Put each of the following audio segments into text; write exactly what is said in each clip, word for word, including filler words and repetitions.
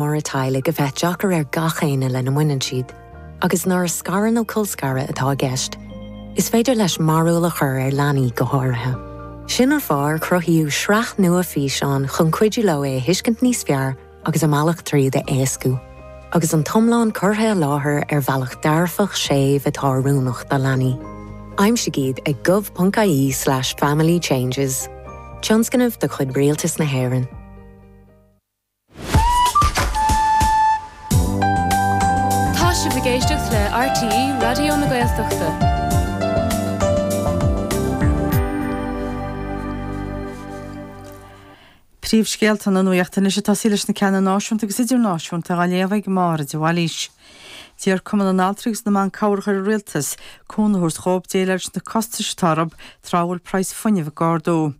Móra teaghlaigh a bheith deacair ar gach éinne lena mbaineann siad, agus nuair a scaradh nó colscaradh atá i gceist, is féidir leis mearbhall a chur ar leanaí go háirithe. Sin an fáth ar cruthaíodh sraith nua físeán chun cuidiú leo é a thuiscint níos fearr agus a mbealach tríd a éascú. Agus an t-iomlán curtha i láthair ar bhealach dearfach séimh atá oiriúnach do leanaí. Aimsigh iad ag gov.ie slash family changes. Tionscnamh de chuid Rialtas na hÉireann. Tá sibh ag éisteacht le RTÉ Raidió na Gaeltachta. Príomhscéalta na Nuachta anois ag tosaí leis na ceanna náisiúnta agus idirnáisiúnta á léamh ag Máire de Bhailís. D'iarr Cumann na nAltraí agus na mBan Cabhrach ar an Rialtas cúnamh a thabhairt dhóibh déileáil leis na costais atá orthu tráth a bhfuil praghas fuinnimh ag ardú.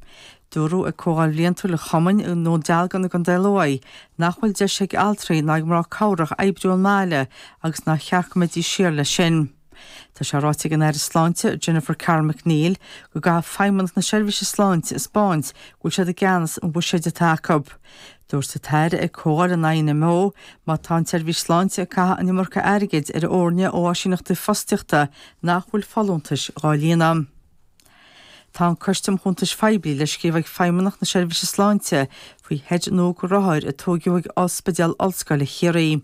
Dúradh ag comhdháil bhliantúil an chumainn i nDún Dealgan i gContae Lú nach bhfuil deis ag altraí ná ag mná cabhrach oibriú ón mbaile agus nár cheart go mbeidís siar leis sin. Tá sé ráite ag an Aire Sláinte Jennifer Carroll MacNeill go gcaithfidh Feidhmeannacht na Seirbhíse Sláinte a 'spáint go bhfuil siad i gceannas an bhuiséid atá acu. Dúirt an tAire ag comhdháil an INMO má tá an tSeirbhís Sláinte ag caitheamh an iomarca airgid ar fhoirne ó áisíneachtaí fostaíochta nach bhfuil folúntais dhá líonadh. Tá an Coiste um Chuntais Phoiblí le scríobh ag Feidhmeannacht na Seirbhíse Sláinte faoi sheid nua do rothair a tóigeadh ag Ospidéal Ollscoile Chiarraí.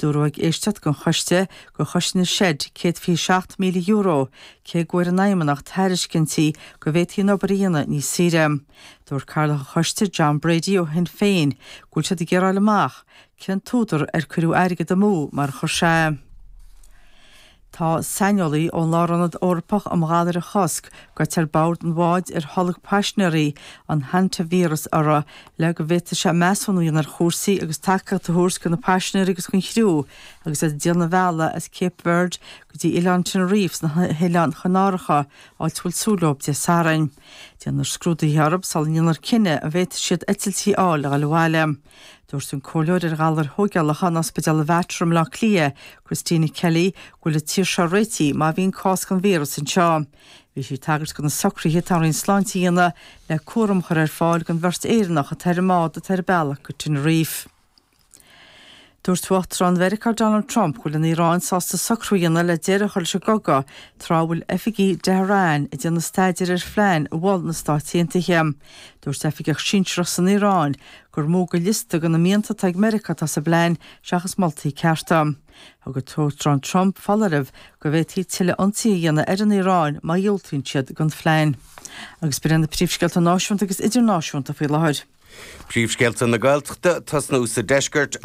Dúradh ag éisteacht don choiste gur chosain an seid céad fiche seacht míle euro, cé go bhfuair an Fheidhmeannacht tairiscintí go bhféadfaí an obair a dhéanamh níos saoire. Dúirt Cathaoirleach an Choiste, John Brady ó Shinn Féin, go bhfuil siad ag iarraidh a fháil amach cén t-údar ar cuireadh airgead amú, mar a chuir sé. Tá saineolaí ón Lárionad Eorpach um Ghalair a Chosc gaibhte ar bord an bháid ar tholg paisinéirí an hantavíreas orthu le go bhféadfaidh sé measúnú a dhéanamh ar chúrsaí agus tacaíocht a thabhairt do na paisinéirí agus don chriú agus iad ag déanamh an bhealaigh as Cape Verde go dtí oileán Tenerife sna hOileáin Chanáracha, áit a bhfuil súil leo Dé Sathairn. Déanfar scrúduithe orthu sula ndéanfar cinneadh an bhféadfaidh siad eitiltí a fháil a dhul abhaile. Dúirt an comhairleoir ar ghalair thógálacha in Ospidéal Mhater i mBaile Átha Cliath, Christina Kelly, go bhfuil an tír seo réitithe má bhíonn cás den víreas anseo. Bhí sí ag tagairt do na socruithe atá an Roinn Sláinte a dhéanamh le cúram a chur ar fáil don bheirt Éireannach atá ar an mbád atá ar a bealach go Tenerife. Dúirt Uachtarán Mheiriceá Donald Trump go bhfuil an Iaráin sásta socrú a dhéanamh le deireadh a chur leis an gcogadh tráth a bhfuil oifigigh i dTehran ag déanamh staidéir ar phlean a mhol na Stáit Aontaithe. Dúirt oifigeach sinsearach san Iaráin gur mó de liosta de na mianta atá ag Meiriceá atá sa bplean seachas moltaí cearta. Thug an tUachtarán Trump foláireamh go bhféadfaí tuilleadh ionsaithe a dhéanamh ar an Iaráin má dhiúltaíonn siad don phlean. Agus b'in iad na príomhscéalta náisiúnta agus idirnáisiúnta faoi láthair. Príomhscéalta na Gaeltachta tosnú sa deisceart.